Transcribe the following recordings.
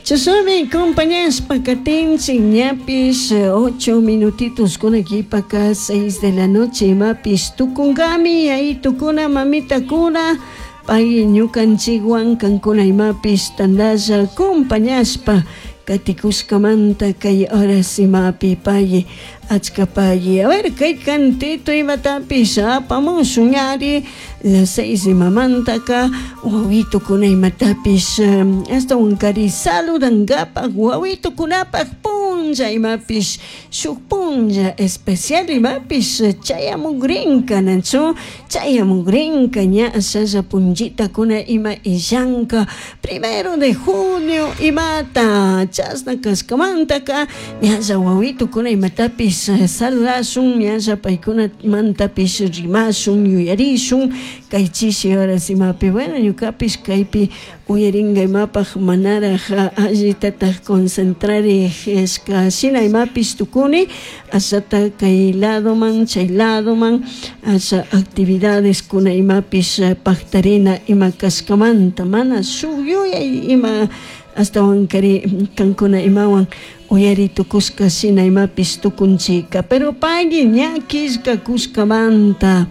Chashnami compañashpa katinchik ñapish 8 minutitos kunakipaka 6 de la noche imapish tukunkami yayitukuna mamitakuna pay ñukanchikwan kankuna imapish tandalla compañashpa katikushkamanta kay horas imapi pay achka pay. A ver, kay cantito imatapish apamushun ari las 6 imamantaka wawitukuna imatapish ashtawankari saludankapak wawitukunapak punlla imapish shuk punlla especial imapish chayamukrinka, nachu chayamukrinka ña ashalla punllitakuna ima illanka 1 de junio imata chashna kashkamantaka ñalla wawitukuna imatapish saludashun, ñalla paykunamantapish rimashun, yuyarishun kay chishi horas imapi. Bueno, ñukapish kaypi uyarinka imapak manaraj allitataj concentrarishka shina imapish tukuni ashata kay ladoman chay ladoman asha actividades kuna imapish paktarina ima kashkamanta mana shuk yuyay ima ashtawankari kankuna imawan uyari tukushka shina imapish tukunchika, pero pagui ña killkakushkamanta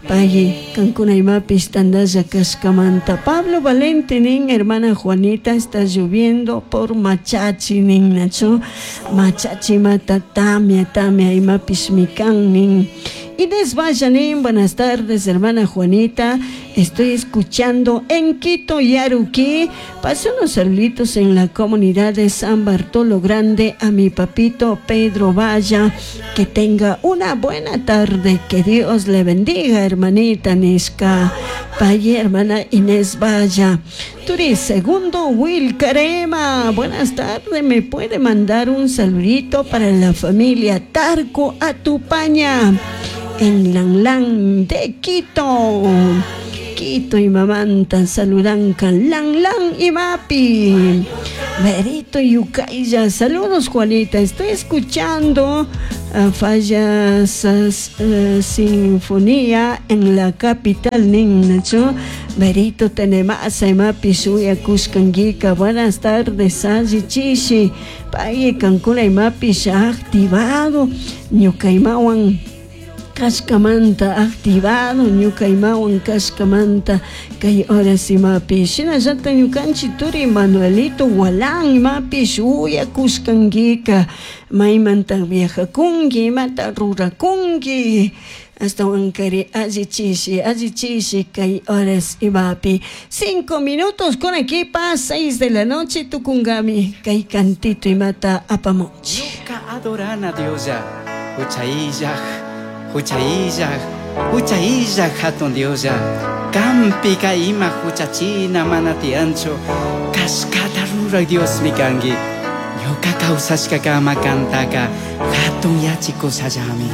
pagui kankuna imapish tandalla kashkamanta. Pablo Valente nin: "Hermana Juanita, está lloviendo por Machachi", nin, nachu Machachi mata tamia tamia imapish mikan nin. Inés Vallanín: "Buenas tardes, hermana Juanita. Estoy escuchando en Quito, Yaruquí. Paso unos saluditos en la comunidad de San Bartolo Grande a mi papito Pedro Valla. Que tenga una buena tarde. Que Dios le bendiga, hermanita", nishka. Paye, hermana Inés Valla. Turi segundo Wilcarema: "Buenas tardes. ¿Me puede mandar un saludito para la familia Tarco Atupaña en Lan de Quito?" Quito y mamanta saludanka Lan Lan y Mapi. Berito Yucaya: "Saludos, Juanita, estoy escuchando Fallas Sinfonía en la capital", nin, nachu Berito Tenemasa imapi shuyakushkankika. Buenas tardes, alli chishi, pay kankuna imapish activado ñuka imawan kashkamanta, activado ñuka imawan kashkamanta kay horas imapi. Shinallata ñukanchik turi Manuelito Walán imapish uyakushkankika, maymanta viajakunki, imata rurakunki, ashtawankari alli chishi, alli chishi kay horas imapi. 5 minutos con equipa 6 de la noche tukunkami kay cantito imata apamunchik. Ñuka adorana Dioslla, hucha illaj, hucha illaj, hucha illaj hatun Dioslla, kanpika ima huchachina mana tiyanchu, kashkata ruraj Diosmi kanki. Ñuka kawsashkakama kantaka hatun yachikushallami.